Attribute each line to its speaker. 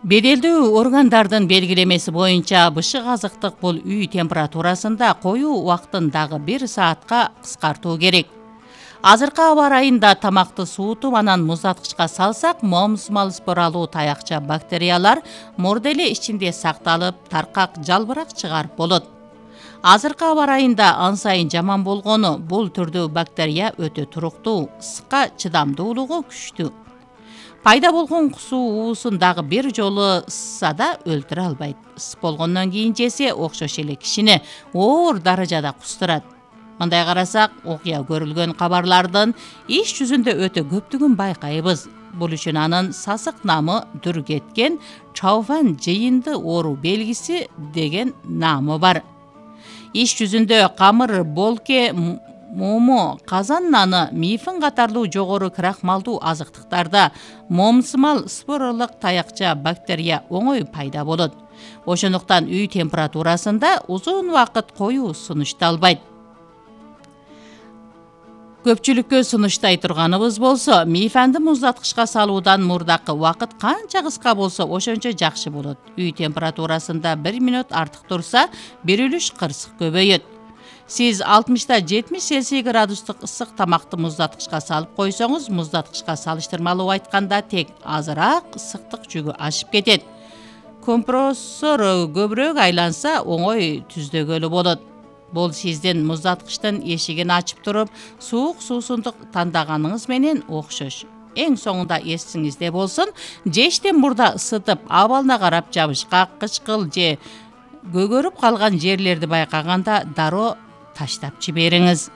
Speaker 1: Беделдүү органдардын белгилемеси боюнча бышык азыктык бул үй температурасында коюу убактын дагы 1 саатка кыскартуу керек. Азыркы аба ырайында тамакты суутуп анан муздаткычка салсак, момусмал споралуу таякча бактериялар мурда эле ичинде сакталып, таркак жалбырак чыгарып болот. Азыркы аба ырайында ан сайын жаман болгону бул түрдүү бактерия өтө туруктуу, ысыкка чыдамдуулугу күчтүү. Пайда болгон кусуу уусун дагы бир жолу ысса да өлтүрө албайт. Ысып болгондон кийин жесе окшош эле кишини оор даражада кустурат. Мындай карасак, окуя көрүлгөн кабарлардын иш жүзүндө өтө көптүгүн байкайбыз. Бул үчүн анын сасык намы дүр кеткен чаофан жыйынды оору белгиси деген намы бар. Иш жүзүндө камыр, болке, момо, казан наны, мифин катарлуу жогору крахмалдуу азыктыктарда момусмал споралык таякча бактерия оңой пайда болот. Ошондуктан үй температурасында узун убакыт коюу сунушталбайт. Көпчүлүккө сунуштай турганыбыз болсо, мифанды муздаткычка салуудан мурдакы убакыт канча кыска болсо ошончо жакшы болот. Үй температурасында 1 минут артык турса, бир үлүш кырсык көбөйөт. Сиз 60-70 Цельсий градустук ысык тамакты муздаткычка салып койсоңуз, муздаткычка салыштырмалуу айтканда тек азыраак ысыктык жүгү ашып кетет. Компрессор көбүрөөк айланса, оңой түздөгөлү болот. Бул сиздин муздаткычтын эшигин ачып туруп, суук суусундук тандаганыңыз менен окшош. Эң соңунда эсиңизде болсун, жештен мурда ысытып, абалына карап жабышкак, кычкыл же көгөрүп калган жерлерди байкаганда дароо таштап жибериңиз.